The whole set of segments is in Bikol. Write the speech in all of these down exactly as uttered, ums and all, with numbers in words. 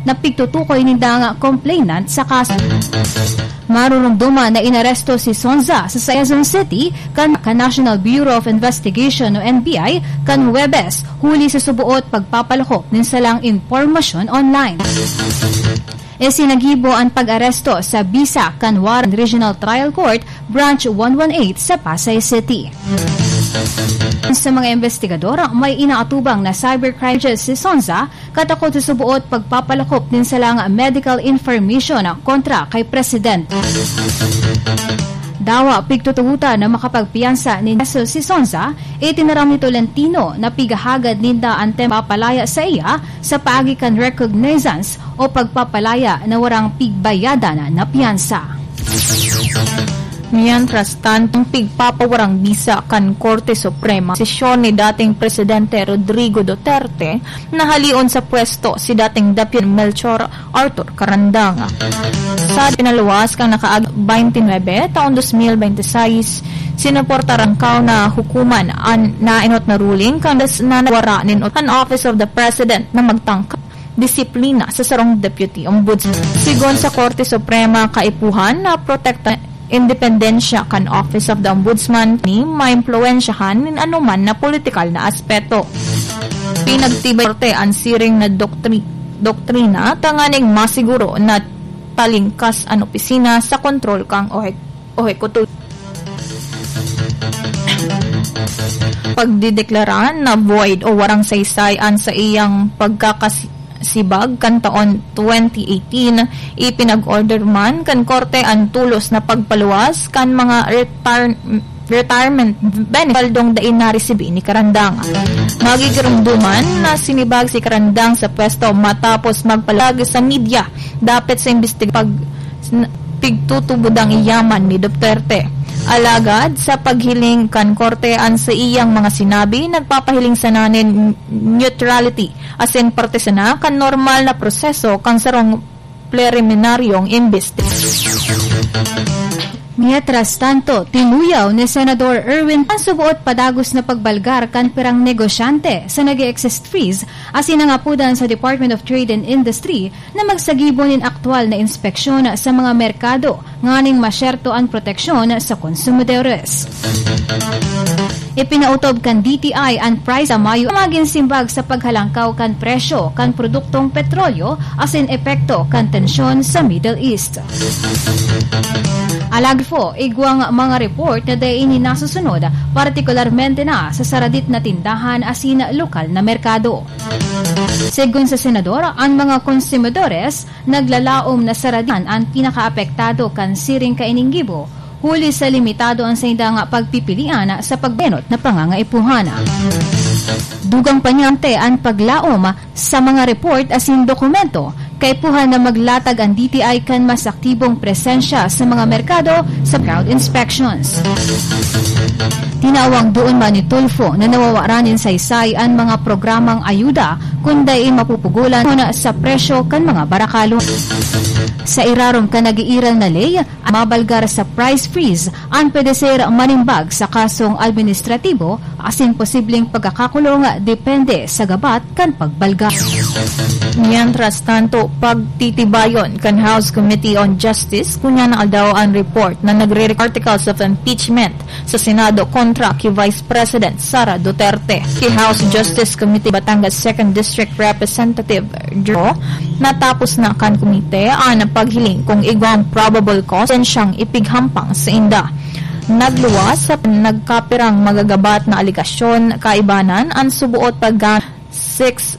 na pigtutukoy nindang complainant sa kaso. Marurumduman na inaresto si Sonza sa Quezon City kan, kan National Bureau of Investigation o N B I kan Huwebes, huli sa suboot pagpapalakop nin salang impormasyon online. Isinagibo an pag-aresto sa bisa kan Warren Regional Trial Court, Branch one one eight sa Pasay City. Sa mga investigador, may inaatubang na cybercrime charges si Sonza, katakot sa suboot pagpapalakop nin salang medical information kontra kay President. Dawa pigtutugotan na makapagpiyansa nin kaso si Sonza, itinaram ni Tolentino na pighahagad ninda an tema palaya sa iya sa paagi kan recognizance o pagpapalaya na warang pigbayadan na piyansa. Mientras tanto, pigpapawarang bisa kan Korte Suprema, desisyon ni dating Presidente Rodrigo Duterte na halion sa pwesto si dating Deputy Melchor Arthur Carandang. Sa pinaluwas kan nakaag twenty-nine taon twenty twenty-six, sinuporta rangkaw na hukuman an naenot na ruling kan das na nawara nin an Office of the President na magtangka disiplina sa sarong Deputy Ombudsman. Sigon sa Korte Suprema, kaipuhan na protekta independensya kan Office of the Ombudsman ni maimpluwensyahan nin anoman na politikal na aspeto. Pinagtibay korte an siring na doktri-, doktrina tanganing masiguro na talingkas an opisina sa kontrol kan ohek-, ohekuto-, pagdedeklara na void o warang saysay an saiyang pagkakasi-, sibag kan taon twenty eighteen, ipinag-order man kan korte an tulos na pagpaluwas kan mga retar-, retirement benefit, swaldong dai naresibi ni Carandang. Magigirumduman na sinibag si Carandang sa pwesto matapos magpalag sa media dapit sa imbestiga pag-, pigtutubod ang yaman ni Duterte. Alagad, sa paghiling kan korte, an saiyang mga sinabi nagpapahiling sana nin neutrality asin parte sana kan normal na proseso kan sarong preliminaryong imbestigasyon. Mientras tanto, tinuyaw ni Senador Erwin an suboot padagos na pagbalgar kan pirang negosyante sa nag-e-exist freeze asin nangapodan sa Department of Trade and Industry na magsagibo nin aktual na inspeksyon sa mga merkado nganing masyerto an proteksyon sa konsumidores. Ipinautob kan D T I an price sa Mayo magin simbag sa paghalangkaw kan presyo kan produktong petrolyo asin epekto kan tensyon sa Middle East. Alagad po, igwang mga report na dai ini nasusunod, partikularmente na sa saradit na tindahan asin lokal na merkado. Segun sa senador, an mga konsumidores naglalaom na saradian an pinakaapektado kan siring kaining gibo, huli sa limitado an saindang pagpipilian sa pagbenot na pangangaipuhan. Dugang pa niya an paglaom sa mga report asin dokumento, kaipuhan na maglatag an D T I kan mas aktibong presensya sa mga merkado sa crowd inspections. Tinawang duon man ni Tulfo na nawawaran nin saysay an mga programang ayuda kun dai mapupugulan sa presyo kan mga barakalon. Sa irarom kan nag-iiral na ley, mabalgar sa price freeze an pwede ser manimbag sa kasong administratibo asin posibleng pagkakakulong depende sa gabat kan pagbalgar. Mientras tanto, pagtitibayon kan House Committee on Justice ngunyan na aldaw an report na nagre-, articles of impeachment sa Senado kontra ki Vice President Sara Duterte. Ki House Justice Committee Batangas Second District Representative Joe, natapos na kan komite an paghiling kung igwang probable cause siyang ipighampang sa inda. Nagluwas sa nagkapirang magagabat na alegasyon, kaibanan an suboot pag six,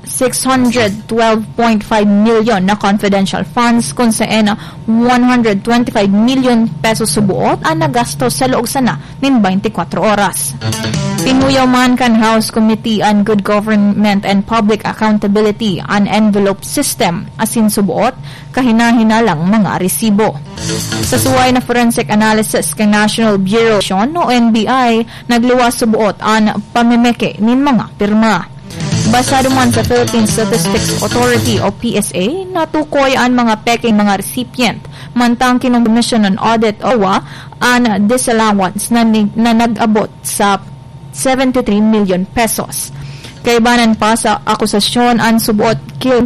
six hundred twelve point five milyon na confidential funds, kun saen one hundred twenty-five milyon pesos suboot an nagasto sa laog sana nin twenty-four oras. Tinuyaw man kan House Committee on Good Government and Public Accountability an envelope system asin suboot kahinahinalang mga resibo. Sa suway na forensic analysis kan National Bureau o N B I, nagluwas suboot an pamemeke nin mga pirma. Basado man sa Philippine Statistics Authority o P S A, natukoy an mga pekeng mga recipient, mantang kinomishon an audit o wa an disallowance na ni-, na nag-abot sa seventy-three million pesos. Kaibanan pa sa akusasyon an suboot killing